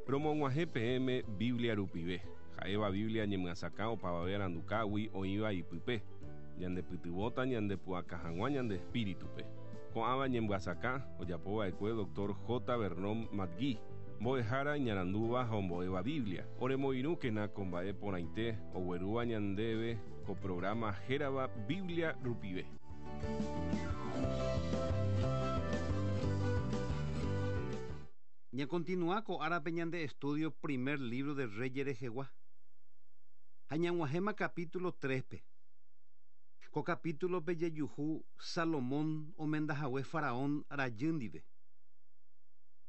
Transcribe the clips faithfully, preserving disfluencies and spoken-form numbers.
Romog̃uahẽ peẽme Biblia rupive, ha'éva Biblia ñemyasakã opavave arandukágui oĩva ipype, ñandepytyvõta ñandepu'aka hag̃ua ñande espíritupe. Ko'ãva ñemyasakã ojapova'ekue doctor J. Vernon McGee, mbo'ehára iñarandúva ha ombo'éva Biblia. Oremoirũkena ko mba'e porãite oguerúva ñandéve ko programa hérava Biblia rupive. Ña continúa ko árape ñande estudio primer libro de Reyes rehegua. Ha ñag̃uahẽma capítulo tres-pe. Ko capítulo-pe jejuhu Salomón omendahague Faraón rajy ndive.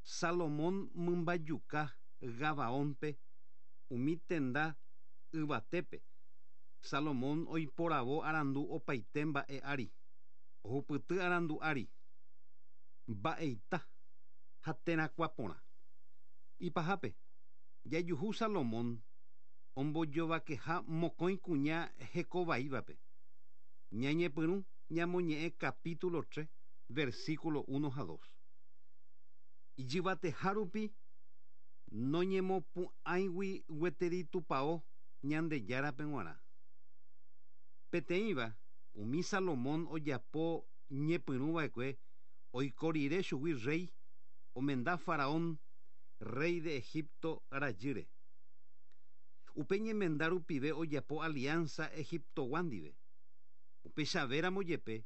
Salomón mymbajuka Gabaónpe umi tenda yvatépe. Salomón oiporavo arandu opaite mba'e ári. Ohupyty arandu ári. Mba'eita ha terakuã porã. Ipahápe, jajuhu Salomón ombojovakeha mokõi kuña hekovaívape. Ñañepyrũ ñamoñe'ẽ capítulo tres, versículo uno ha dos. Ijyvateha rupi noñemopu'ãigui gueteri tupão Ñandejárape g̃uarã. Peteĩva umi Salomón ojapo ñepyrũva'ekue oiko rire chugui rey omenda Faraón, rey de Egipto rajýre. Upe ñemenda rupive ojapo alianza Egiptogua ndive. Upechavéramo jepe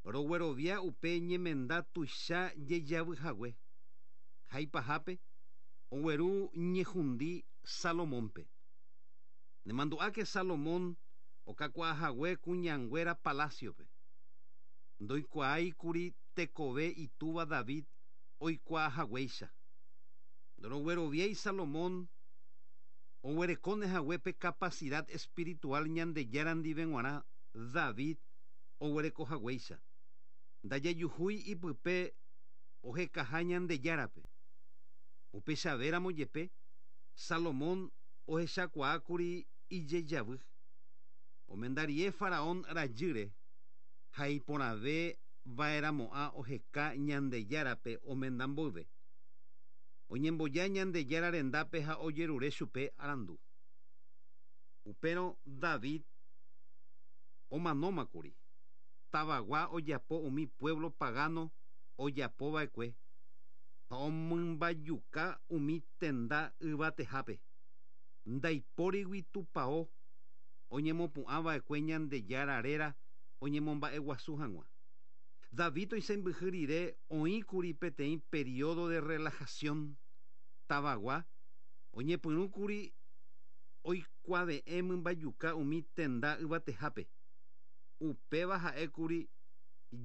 roguerovia upe ñemenda tuicha jejavyhague. Ha ipahápe ogueru ñehundi Salomónpe. Nemandu'áke Salomón okakuaahague kuñanguéra palaciope. Ndoikuaáikuri tekove itúva David oikuaahaguéicha. Ndorogueroviái Salomón oguerekóne haguépe capacidad espiritual Ñandejára ndive g̃uarã David oguerekohaguéicha. Ndajajuhúi ipype ohekaha Ñandejárape. Upechavéramo jepe Salomón ohechakuaákuri ijejavy. Omendarie Faraón rajýre ha iporãve va'erãmo'ã oheka Ñandejárape omenda mboyve. Oñemboja Ñandejára rendápe ha ojerure chupe arandu. Upérõ David omanómakuri. Tavagua ojapo umi pueblo pagano ojapova'ekue ha omymbajuka umi tenda yvatehápe. Ndaipórigui tupão oñemopu'ãva'ekue Ñandejára réra oñemomba'eguasu hag̃ua. David oisãmbyhy rire oĩkuri peteĩ periodo de relajación tavagua oñepyrũkuri oikuave'ẽ mymbajuka umi tenda yvatehápe. Upéva ha'ékuri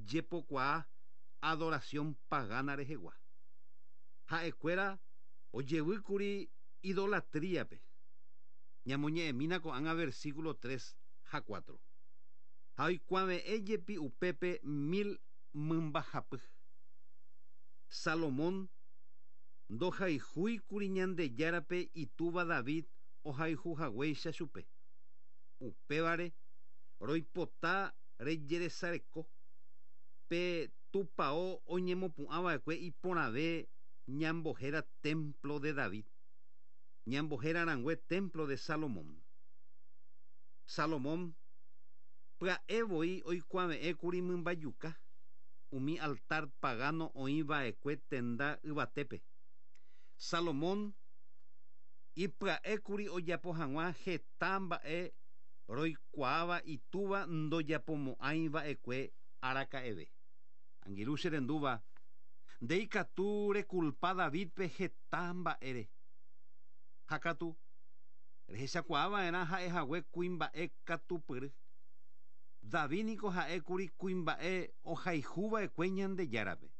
jepokuaa adoración pagana rehegua. Ha'ekuéra ojevýkuri idolatríape. Ñamoñe'ẽmína ko'ág̃a versículo tres ha cuatro. Ha oikuave'ẽ jepi upépe mil mymbahapy. Salomón ndohayhúikuri Ñandejárape itúva David ohayhuhaguéicha chupe. Upévare roipota rejeresareko pe tupão oñemopu'ãva'ekue iporãve ñambohéra templo de David. Ñambohéra rãngue templo de Salomón. Salomón pya'e voi oikuave'ẽkuri mymbajuka umi altar pagano oĩva'ekue tenda yvatépe. Salomón ipya'ékuri ojapo hag̃ua heta mba'e roikuaáva itúva ndojapomo'ãiva'ekue araka'eve. Angirũ che rendúva, nde ikatu rekulpa Davidpe heta mba'ére. Ha katu rehechakuaava'erã ha'ehague kuimba'e katupyry. David niko ha'ékuri kuimba'e ohayhuva'ekue Ñandejárape.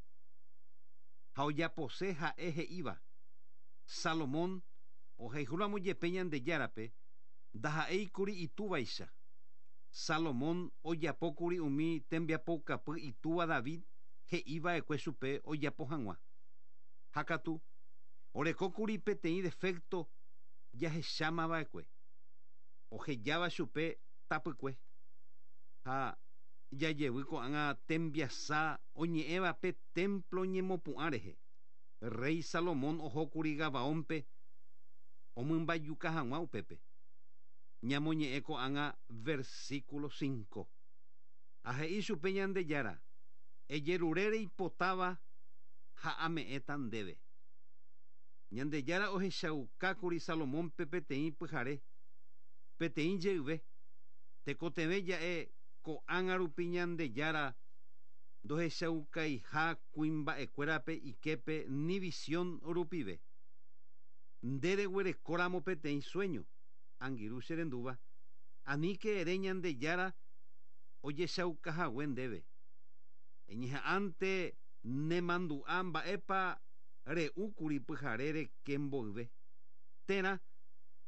Ha ojapose ha'e he'íva. Salomón ohayhúramo jepe Ñandejárape ndaha'éikuri itúvaicha. Salomón ojapókuri umi tembiapoukapy itúva David he'iva'ekue chupe ojapo hag̃ua. Ha katu orekókuri peteĩ defecto jahechámava'ekue. Ohejáva chupe tapykue. Ha jajevy ko'ág̃a tembiasa oñe'ẽva pe templo ñemopu'ã rehe. Rey Salomón ohókuri Gabaónpe omymbayuka hag̃ua upépe. Ñamoñe'ẽ ko'ág̃a versículo cinco. Ha he'i chupe Ñandejára, ejerure reipotáva ha ame'ẽta ndéve. Ñandejára ohechaukákuri Salomónpe peteĩ pyhare, peteĩ jeyve, tekotevẽ ja'e ko'ág̃a rupi Ñandejára ndohechaukaiha kuimba'ekuérape iképe ni visión rupive. Nde reguerekóramo peteĩ sueño, angirũ che rendúva, aníke ere Ñandejára ojechaukahague ndéve. Eñeha'ãnte nemandu'a mba'épa re'úkuri pyhare reke mboyve. Térã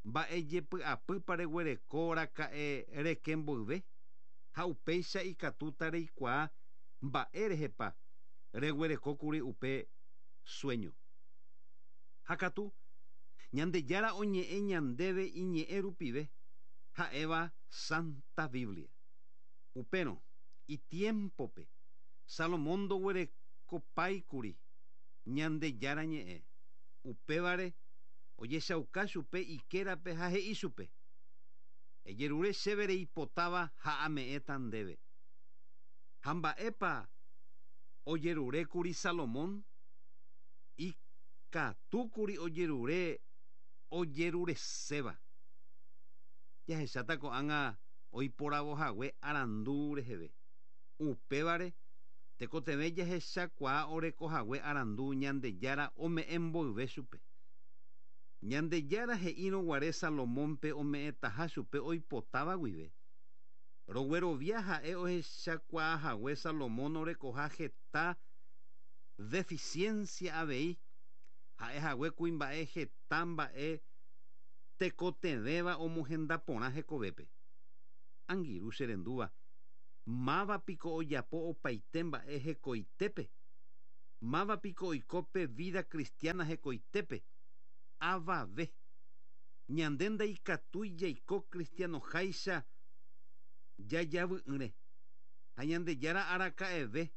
mba'ejepy'apýpa reguerekóraka'e reke mboyve ha upéicha ikatúta reikuaa mba'érehepa reguerekókuri upe sueño. Ha katu Ñandejára oñe'ẽ ñandéve iñe'ẽ rupive ha'éva Santa Biblia. Upérõ itiempope Salomón ndoguerekopáikuri Ñandejára ñe'ẽ. Upévare ojechauka chupe ikérape ha he'i chupe: ejerure chéve reipotáva ha ame'ẽta ndéve. Ha mba'épa ojerurékuri Salomón? Ikatúkuri ojerure ojerureséva. Jahecháta ko'ág̃a oiporavohague arandu reheve. Upévare tekotevẽ jahechakuaa orekohague arandu Ñandejára ome'ẽ mboyve chupe. Ñandejára he'írõguare Salomónpe ome'ẽtaha chupe oipotáva guive. Roguerovia ha'e ohechakuaahague Salomón orekoha heta deficiencia avei ha'ehague kuimba'e heta mba'e tekotevẽva omohenda porã hekovépe. Angirũ che rendúva, mávapiko ojapo opaite mba'e hekoitépe. Mávapiko oiko pe vida cristiana hekoitépe. Avave. Ñande ndaikatúi jaiko cristianoháicha jajavy'ỹre. Ha Ñandejára araka'eve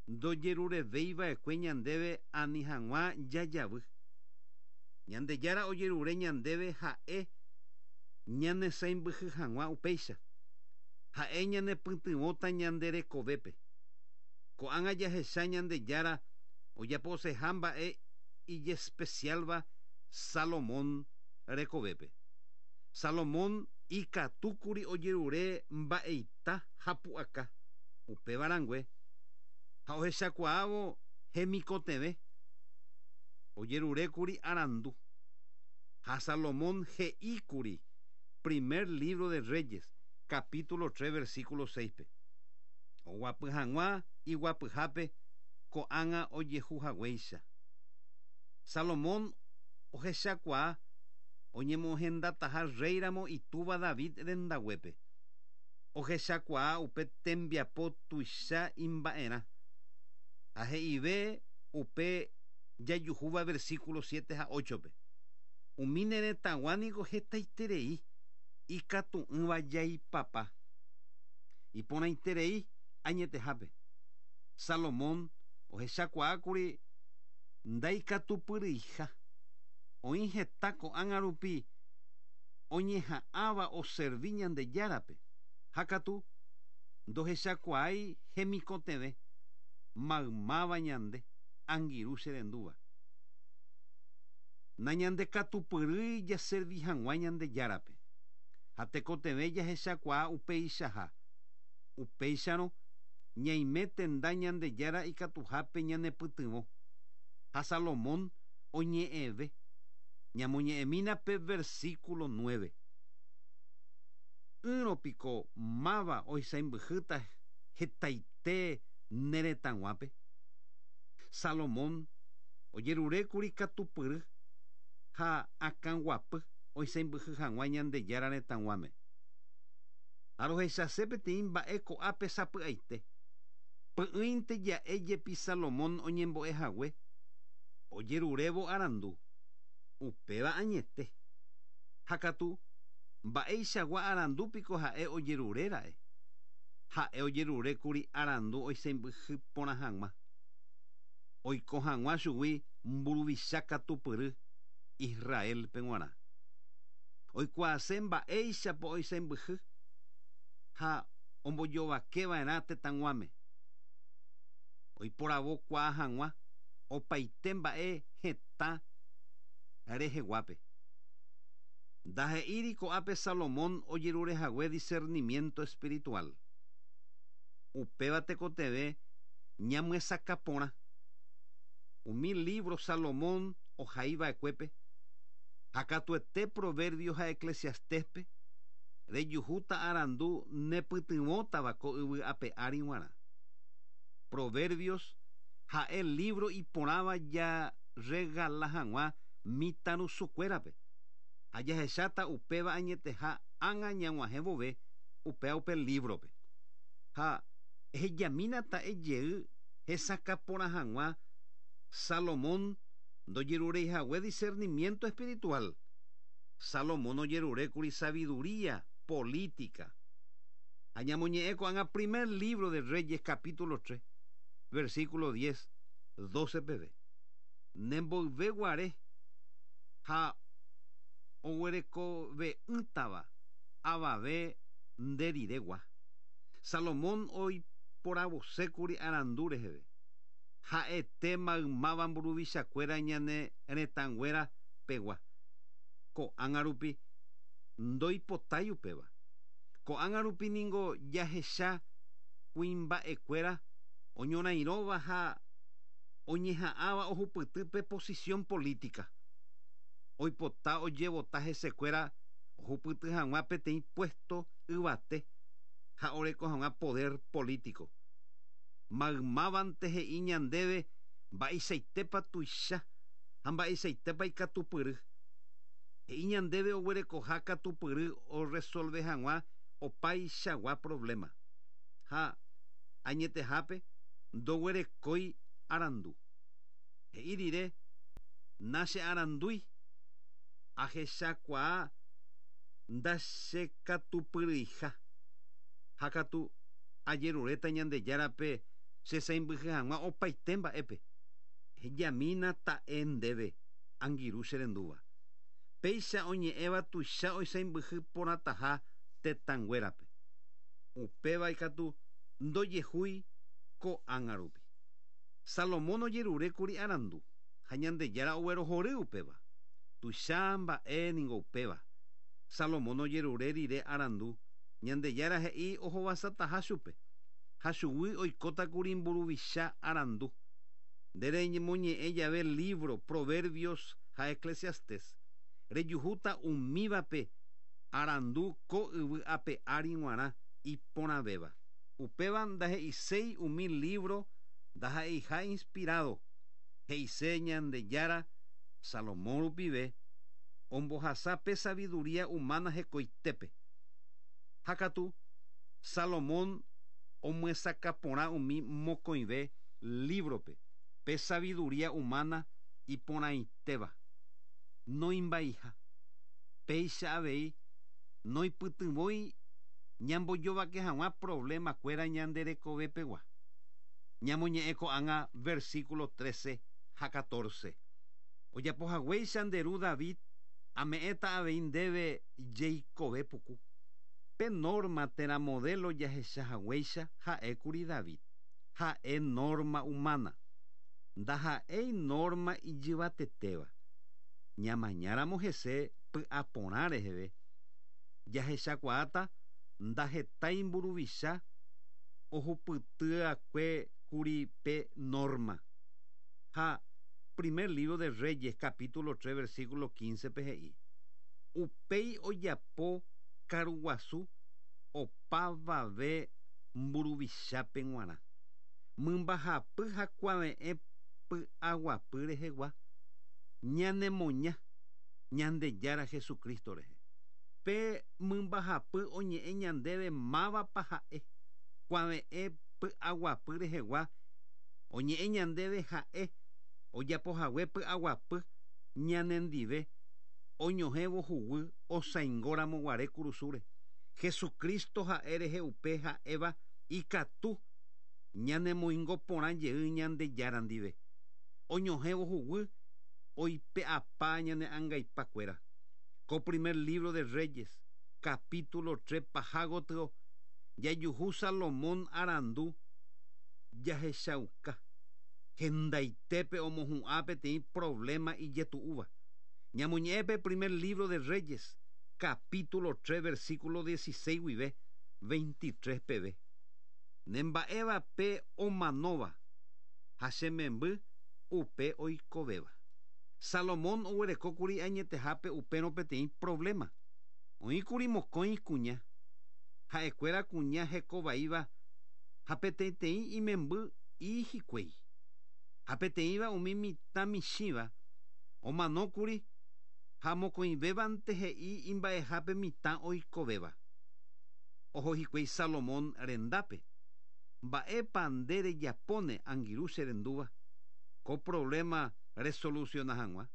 ndojerurevéiva'ekue ñandéve ani hag̃ua jajavy. Ñandejára ojerure ñandéve ha'e ñanesãimbyhy hag̃ua upéicha. Ha'e ñanepytyvõta ñande rekovépe. Ko'ág̃a jahecha Ñandejára ojaposeha mba'e ijespecialva Salomón rekovépe. Salomón ikatúkuri ojerure mba'eita ha pu'aka upéva rangue ha ohechakuaávo hemikotevẽ ojerurékuri arandu. Ha Salomón he'íkuri primer libro de Reyes, capítulo tres, versículo seis-pe. Oguapy hag̃ua iguapyhápe ko'ág̃a ojehuhaguéicha. Salomón ohechakuaa oñemohendataha réiramo itúva David rendaguépe. Ohechakuaa upe tembiapo tuicha imba'erã. Ha he'ive upe jajuhúva versículo siete ha ocho-pe. Umi ne retãgua niko hetaiterei ikatu'ỹva jaipapa. Iporãiterei añetehápe. Salomón ohechakuaákuri ndaikatupyryiha. Oĩ heta ko'ág̃a rupi oñeha'ãva oservi Ñandejárape. Ha katu ndohechakuaái hemikotevẽ maymáva ñande angirũ che rendúva. Nañandekatupyrýi jaservi hag̃ua Ñandejárape. Ha tekotevẽ jahechakuaa upeichaha. Upéicharõ ñaime tenda Ñandejára ikatuhápe ñanepytyvõ. Ha Salomón oñe'ẽve. Ñamoñe'ẽmína pe versículo nueve. Ỹrõpiko máva oisãimbyhýta hetaite ne retãguápe. Salomón ojerurékuri katupyry ha akãguapy oisãimbyhy hag̃ua Ñandejára retãguáme. Ha rohechase peteĩ mba'e ko'ápe sapy'aite. Py'ỹinte ja'e jepi Salomón oñembo'ehague ojerurévo arandu. Upéva añete. Ha katu mba'eichagua arandúpiko ha'e ojeruréra'e. Ha'e ojerurékuri arandu oisãimbyhy porã hag̃ua. Oiko hag̃ua chugui mburuvicha katupyry Israel-pe g̃uarã. Oikuaase mba'éichapa oisãmbyhy ha ombojovakeva'erã tetãguáme. Oiporavokuaa hag̃ua opaite mba'e hetã reheguápe. Ndahe'íri ko'ápe Salomón ojerurehague discernimiento espiritual. Upéva tekotevẽ ñamyesakãporã. Umi libro Salomón ohaiva'ekuépe ha katuete Proverbios ha Eclesiastéspe rejuhúta arandu nepytyvõtava ko yvy ape ári g̃uarã. Proverbios ha'e libro iporãva jaregala hag̃ua mitãrusukuérape. Ha jahecháta upéva añeteha ág̃a ñag̃uahẽ vove upéva upe librope. Ha ehejamínata ejey hesakãporã hag̃ua Salomón ndojerureihague discernimiento espiritual. Salomón ojerurékuri sabiduría política. Ha ñamoñe'ẽ ko'ág̃a primer libro de Reyes capítulo tres, versículo diez, doce peve. Nemboyveguare ha oguerekove'ỹtava avave nderiregua. Salomón oiporavosékuri arandu reheve. Ha'ete maymáva mburuvichakuéra ñane retãnguéra pegua. Ko'ág̃a rupi ndoipotái upéva. Ko'ág̃a rupi ningo jahecha kuimba'ekuéra oñorairõva ha oñeha'ãva ohupytýpe posición política. Oipota ojevota hesekuéra ohupyty hag̃ua peteĩ puesto yvate ha oreko hag̃ua poder político. Maymávante he'i ñandéve mba'eichaitépa tuicha ha mba'eichaitépa ikatupyry. He'i ñandéve oguerekoha katupyry oresolve hag̃ua opaichagua problema. Ha añetehápe ndoguerekói arandu. He'i rire nachearandúi ahechakuaa ndachekatupyryiha. Ha katu ajeruréta Ñandejárape chesãimbyhy hag̃ua opaite mba'épe. Hejamína ta'e ndéve angirũ cherendúva. Péicha oñe'ẽva tuicha oisãimbyhy porãtaha tetãnguérape. Upéva ikatu ndojehúi ko'ág̃a rupi. Salomón ojerurékuri arandu ha Ñandejára oguerohory upéva. Tuicha mba'e ningo upéva. Salomón ojerure rire arandu Ñandejára he'i ohovasataha chupe. Ha chugui oikótakuri mburuvicha arandu. Ndereñemoñe'ẽ jave libro Proverbios ha Eclesiastes. Rejuhúta umívape arandu ko yvy ape ári g̃uarã iporãvéva. Upéva ndahe'iséi umi libro ndaha'eiha inspirado. He'ise Ñandejára Salomón rupive ombohasa pe sabiduría humana hekoitépe. Ha katu Salomón omyesakãporã umi mokõive librope pe sabiduría humana iporãitéva. Noimbaiha. Péicha avei noipytyvõi ñambojovake hag̃ua problemakuéra ñande rekovepegua. Ñamoñe'ẽ ko'ág̃a versículo trece ha catorce. Ojapohaguéicha nde ru David ame'ẽta avei ndéve jeikove puku. Pe norma térã modelo jahechahaguéicha ha'ékuri David. Ha'e norma humana. Ndaha'éi norma ijyvatetéva. Ñamañáramo hese py'aporã reheve. Jahechakuaáta ndahetái mburuvicha ohupytyakue kuri pe norma. Ha primer libro de Reyes capítulo tres versículo quince pe he'i. Upéi ojapo karuguasu opavave mburuvichápe g̃uarã. Mymbahapy ha kuave'ẽ py'aguapy rehegua ñanemoña Ñandejára Jesucristo rehe. Pe mymbahapy oñe'ẽ ñandéve mávapa ha'e kuave'ẽ py'aguapy rehegua oñe'ẽ ñandéve ha'e ojapohague py'aguapy ñanendive oñohẽvo huguy osãingóramo guare kurusúre. Jesucristo ha'e rehe upe ha'éva ikatu ñanemoingo porã jey Ñandejára ndive. Oñohẽvo huguy Oipe'apa ñane angaipakuéra. Ko primer libro de Reyes, capítulo tres paha gotyo, jajuhu Salomón arandu jahechauka. Hendaitépe omohu'ã peteĩ problema ijetu'úva. Ñamoñe'ẽpe primer libro de Reyes, capítulo tres, versículo dieciséis guive, veintitrés peve. Nemba'éva pe omanóva, ha che memby upe oikovéva. Salomón oguerekókuri añetehápe upérõ peteĩ problema. Oĩkuri mokõi kuña, ha'ekuéra kuña hekovaíva ha peteĩteĩ imemby hikuái. Ha peteĩva umi mitã michĩva omanókuri ha mokõivévante he'i imba'ehápe mitã oikovéva. Oho hikuái Salomón rendápe. Mba'épa nde rejapóne angirũ che rendúva ko problema resoluciona hag̃ua.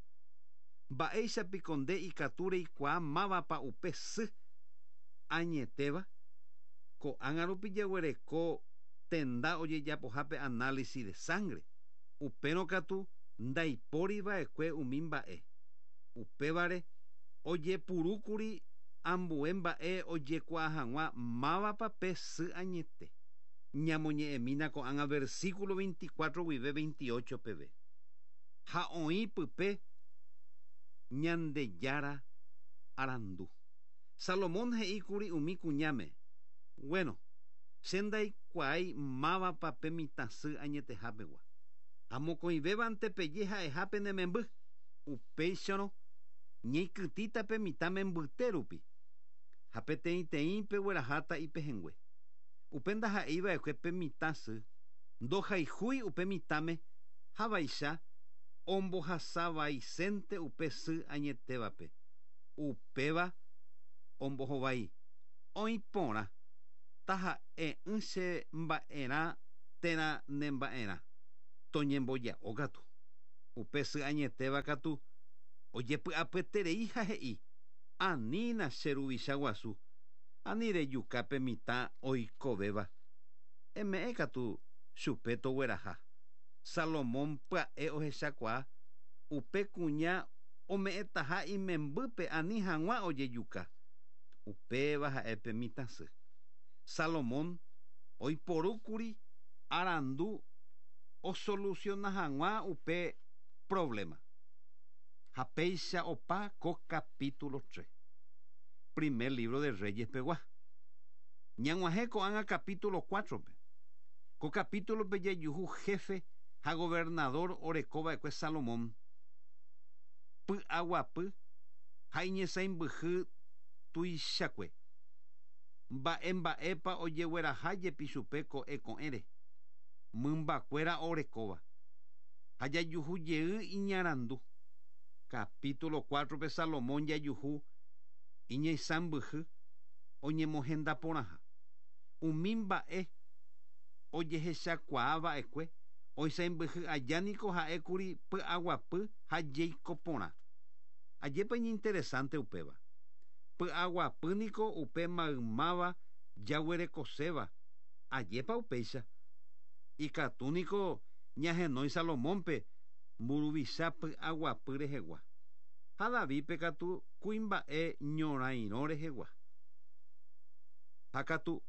Mba'éichapiko nde ikatu reikuaa mávapa upe sy añetéva. Ko'ág̃a rupi jaguereko tenda ojejapohápe análisis de sangre. Upérõ katu ndaipóriva'ekue umi mba'e. Upévare ojepurúkuri ambue mba'e ojekuaa hag̃ua mávapa pe sy añete. Ñamoñe'ẽmína ko'ág̃a versículo veinticuatro guive veintiocho peve. Ha oĩ pype Ñandejára arandu. Salomón he'íkuri umi kuñáme. Bueno, che ndaikuaái mávapa pe mitã sy añetehápegua. Ha mokõivévante peje ha'ehápe ne memby. Upéicharõ ñeikytĩta pe mitã membyte rupi. Ha peteĩteĩ pegueraháta ipehẽngue. Upe ndaha'eiva'ekue pe mitã sy ndohayhúi upe mitãme ha vaicha ombohasavaisénte upe sy añetévape. Upéva ombohovái oĩ porã taha'e'ỹ che mba'erã térã ne mba'erã toñemboja'o katu. Upe sy añetéva katu ojepy'apyeterei ha he'i anína che ruvicha guasu ani rejuka pe mitã oikovéva. Eme'ẽ katu chupe togueraha. Salomón pya'e ohechakuaa upe kuña ome'ẽtaha imembýpe ani hag̃ua ojejuka. Upéva ha'e pe mitã sy. Salomón oiporúkuri arandu osoluciona hag̃ua upe problema. Ha péicha opa ko capítulo tres. Primer libro de Reyes pegua. Ñag̃uahẽ ko'ág̃a capítulo cuatro-pe. Ko capítulo-pe jajuhu jefe ha gobernador orekova'ekue Salomón. Py'aguapy ha iñesãimbyhy tuichakue. Mba'e mba'épa ojegueraha jepi chupe ko'ẽ ko'ẽre. Mymbakuéra orekóva. Ha jajuhu jey iñarandu. Capítulo cuatro-pe Salomón jajuhu iñesãmbyhy oñemohenda porãha. Umi mba'e ojehechakuaava'ekue oisãmbyhy aja niko ha'ékuri py'aguapy ha jeiko porã. Ajépa iñinteresante upéva. Py'aguapy niko upe maymáva jaguerekoséva. Ajépa upéicha. Ikatu niko ñahenói Salomónpe mburuvicha py'aguapy rehegua. Ha Davídpe katu kuimba'e ñorairõ rehegua. Ha katu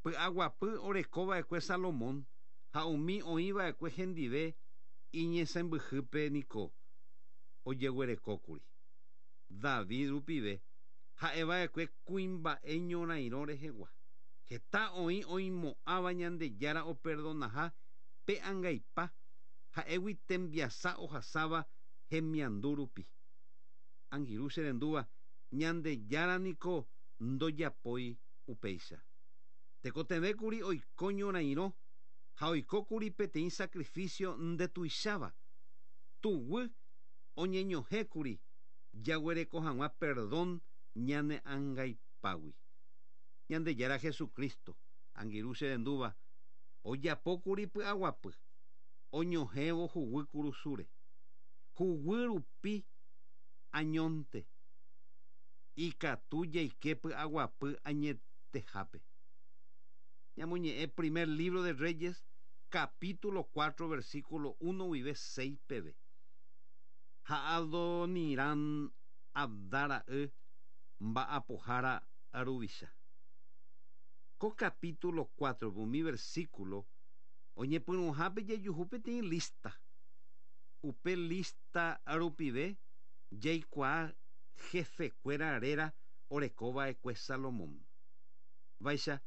py'aguapy orekova'ekue Salomón ha umi oĩva'ekue hendive iñesãmbyhýpe niko ojeguerekókuri. David rupive ha'eva'ekue kuimba'e ñorairõ rehegua. Heta oĩ oimo'ãva Ñandejára operdonaha pe angaipa ha'égui tembiasa ohasáva hemiandu rupi. Angirũ che rendúva Ñandejára niko ndojapói upéicha. Tekotevẽkuri oiko ñorairõ ha oikókuri peteĩ sacrificio ndetuicháva. Tuguy oñeñohẽkuri jaguereko hag̃ua perdón ñane angaipágui. Ñandejára Jesucristo, angirũ che rendúva, ojapókuri py'aguapy, oñohẽvo huguy kurusúre. Huguy rupi añónte ikatu jaike py'aguapy añetehápe. Ñamoñe'ẽ primer libro de Reyes, capítulo cuatro, versículo uno guive seis peve. Ha Adoniram Abda ra'y mba'apohára ruvicha. Ko capítulo cuatro umi versículo oñepyrũhápe jejuhu peteĩ lista. Upe lista rupive jaikuaa jefekuéra réra orekova'ekue Salomón. Vaicha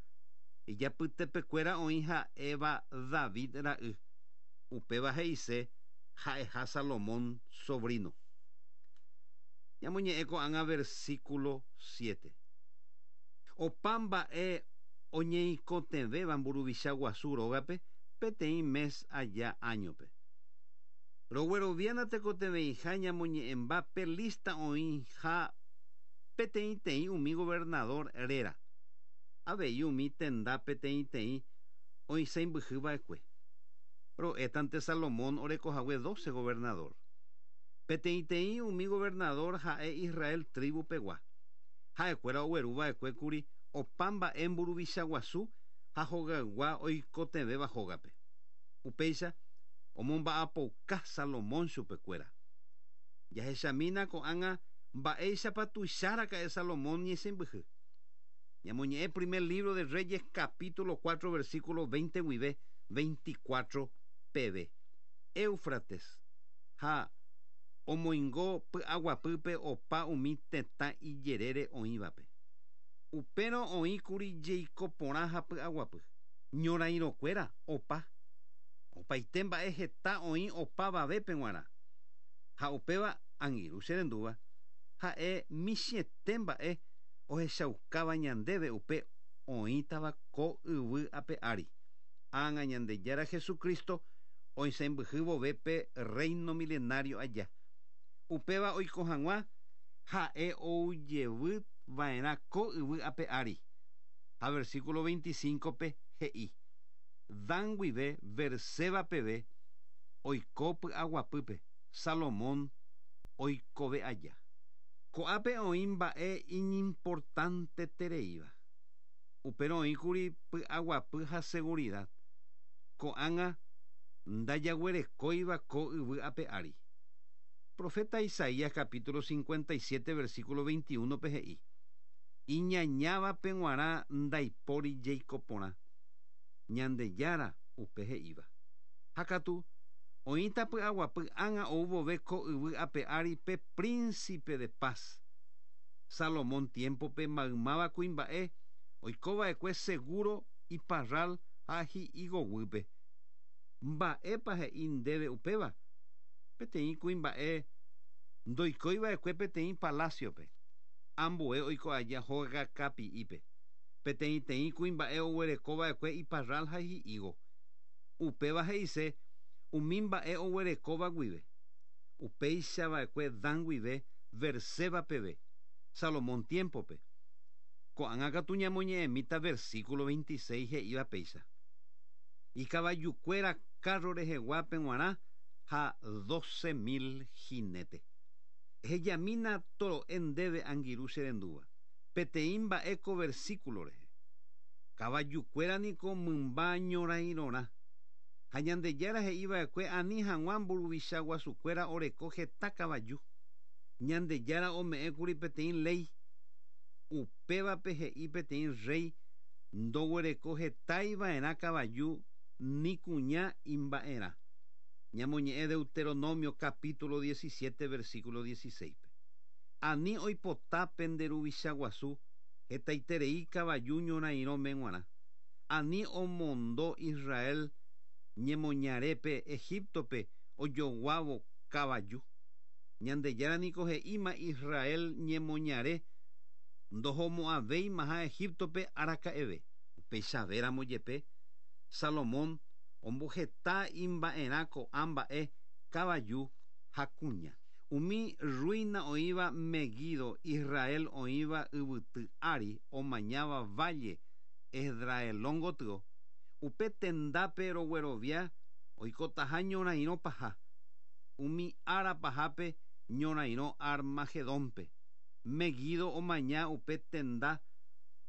ijapytepekuéra oĩ ha'éva David ra'y. Upéva he'ise ha'eha Salomón sobrino. Ñamoñe'ẽ ko'ág̃a versículo siete. Opa mba'e oñeikotevẽva mburuvicha guasu rógape peteĩ mes aja áñope. Rogueroviána tekotevẽiha ñamoñe'ẽmba pe lista oĩha peteĩteĩ umi gobernador réra. Avei umi tenda peteĩteĩ oisãmbyhyva'ekue. Ro'étante Salomón orekohague doce gobernador. Peteĩteĩ umi gobernador ha'e Israel tribu pegua. Ha'ekuéra ogueruva'ekue kuri opa mba'e mburuvicha guasu ha hogaygua oikotevẽva hógape. Upéicha omomba'apouka Salomón chupekuéra. Jahechamína ko'ág̃a mba'éichapa tuicháraka'e Salomón ñesẽmbyhy. Ñamoñe'ẽ primer libro de Reyes capítulo cuatro versículo veinte guive veinticuatro peve. Éufrates ha omoingo py'aguapýpe opa umi tetã ijerére oĩvape. Upérõ oĩkuri jeiko porã ha py'aguapy. Ñorairõkuéra opa. Opaite mba'e heta oĩ opavavépe g̃uarã. Ha upéva angirũ che rendúva ha'e michĩete mba'e ohechaukáva ñandéve upe oĩtava ko yvy ape ári. Ág̃a Ñandejára Jesucristo oisãmbyhy vove pe reino milenario aja. Upéva oiko hag̃ua ha'e oujevy va'erã ko yvy ape ári. Ha versículo veinticinco pe he'i. Dan guive Berseba peve oiko py'aguapýpe Salomón oikove aja. Ko'ápe oĩ mba'e iñimportantetereíva. Upérõ oĩkuri py'aguapy ha seguridad. Ko'ág̃a ndajaguerekóiva ko yvy ape ári. Profeta Isaías capítulo cincuenta y siete versículo veintiuno pe he'i. Iñañávape g̃uarã ndaipóri jeiko porã. Ñandejára upe he'íva. Ha katu oĩta py'aguapy ág̃a ou vove ko yvy ape ári pe príncipe de paz. Salomón tiempope maymáva kuimba'e oikova'ekue seguro iparral ha hi'igoguýpe. Mba'épa he'i ndéve upéva? Peteĩ kuimba'e ndoikóiva'ekue peteĩ palaciope. Ambue oiko aja hóga kapi'ípe. Peteĩteĩ kuimba'e oguerekova'ekue iparral ha hi'ígo. Upéva he'ise umi mba'e oguerekóva guive. Upéichava'ekue Dan guive Berseba peve, Salomón tiempope. Ko'ág̃a katu ñamoñe'ẽmíta versículo veintiséis he'íva péicha. Ikavayukuéra carro reheguápe g̃uarã ha doce mil jinete. Ehejamína toro'e ndéve angirũ che rendúva. Peteĩ mba'e ko versículo rehe. Kavayukuéra niko mymba ñorairõrã. Ha Ñandejára he'iva'ekue ani hag̃ua mburuvicha guasukuéra oreko heta kavaju. Ñandejára ome'ẽkuri peteĩ léi. Upévape he'i peteĩ rey ndoguereko hetaiva'erã kavaju ni kuña imba'erã. Ñamoñe'ẽ Deuteronomio capítulo diecisiete versículo dieciséis. Ani oipota pende ruvicha guasu hetaiterei kavaju ñorairõme g̃uarã. Ani omondo Israel ñemoñarépe Egiptope ojoguávo kavaju. Ñandejára niko he'íma Israel ñemoñare ndohomo'ãvéimaha Egiptope araka'eve. Upéichavéramo jepe Salomón omboheta imba'erã ko'ã mba'e kavaju ha kuña. Umi ruina oĩva Meguido Israel oĩva yvyty ári omañáva valle Esdraelón gotyo. Upe tendápe roguerovia oikotaha ñorairõ paha. Umi ára pahápe ñorairõ Armagedónpe. Meguido omaña upe tenda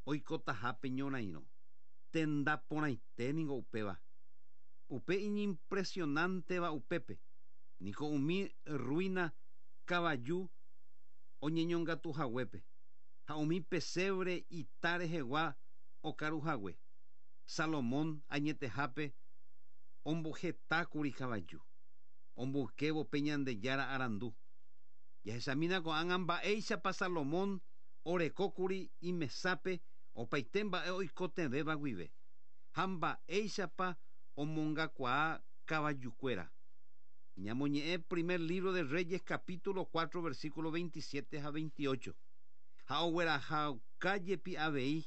oikotahápe ñorairõ. Tenda porãite niko upéva. Upe iñimpresionanteva upépe. Niko umi ruina kavaju oñeñongatuhaguépe ha umi pesebre ita rehegua okaruhague. Salomón añetehápe ombohetákuri kavaju omboykévo pe Ñandejára arandu. Jahechamína ko'ág̃a mba'éichapa Salomón orekókuri imesápe opaite mba'e oikotevẽva guive ha mba'éichapa omongakuaa kavajukuéra. Ñamoñe'ẽ primer libro de Reyes capítulo cuatro versículo veintisiete ha veintiocho. Ha oguerahauka jepi avei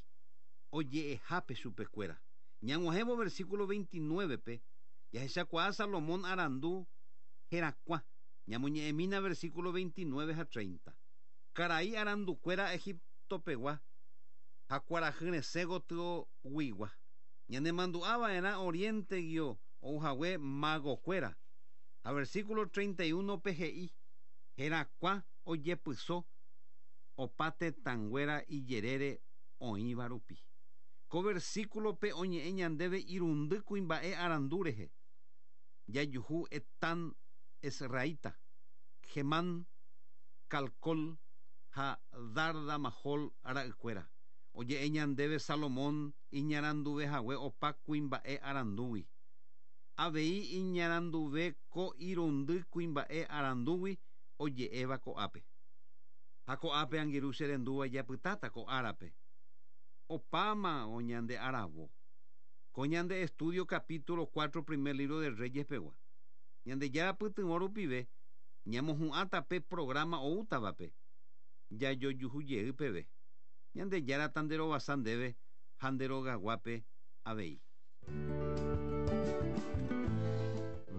oje'ehápe chupekuéra. Ñag̃uahẽvo versículo veintinueve-pe jahechakuaa Salomón arandu herakuã. Ñamoñe'ẽmína versículo veintinueve ha treinta. Karai arandukuéra Egiptopegua ha kuarahy gotyo guigua. Ñanemandu'ava'erã oriente-guio ouhague magokuéra. Ha versículo treinta y uno-pe he'i herakuã ojepyso opa tetãnguéra ijerére oĩva rupi. Ko versículo-pe oñe'ẽ ñandéve irundy kuimba'e arandu rehe. Jajuhu Etán Esraíta, Gemán, Calcol ha Darda Mahol ra'ykuéra. Oje'e ñandéve Salomón iñaranduvehague opa kuimba'e arandúgui. Avei iñaranduve ko irundy kuimba'e arandúgui oje'éva ko'ápe. Ha ko'ápe angirũ che rendúva japytáta ko árape. Opáma oñande aravo. Ko ñande estudio capítulo cuatro primer libro de Reyes pegua. Ñandejára pytyvõ rupive ñamohu'ãta pe programa oútavape. Jajojuhu peve. Ñandejára tanderovasa ndéve ha nderogaguápe avei.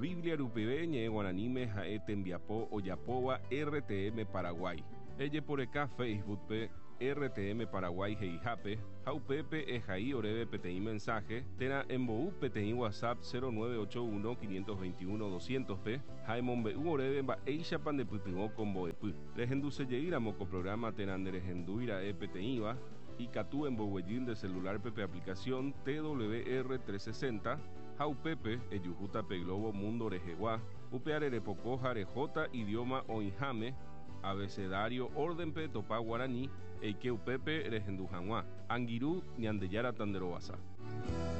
Biblia rupive ñe'ẽ guaraníme ha'e tembiapo ojapóva R T M Paraguay. Ejeporeka Facebook-pe R T M Paraguay he'ihápe ha upépe ehai oréve peteĩ mensaje térã embou peteĩ WhatsApp cero nueve ocho uno quinientos veintiuno doscientos-pe ha emombe'u oréve mba'éichapa ndepytyvõ ko mbo'epy. Rehendusejeýramo ko programa térã nderehendúira'e peteĩva ikatu emboguejy nde celular-pe pe aplicación T W R trescientos sesenta ha upépe ejuhúta pe Globo Mundo rehegua upe arerepoko ha rehóta idioma oĩháme abecedario orden-pe topa guarani eike upépe rehendu hag̃ua. Angirũ Ñandejára tanderovasa.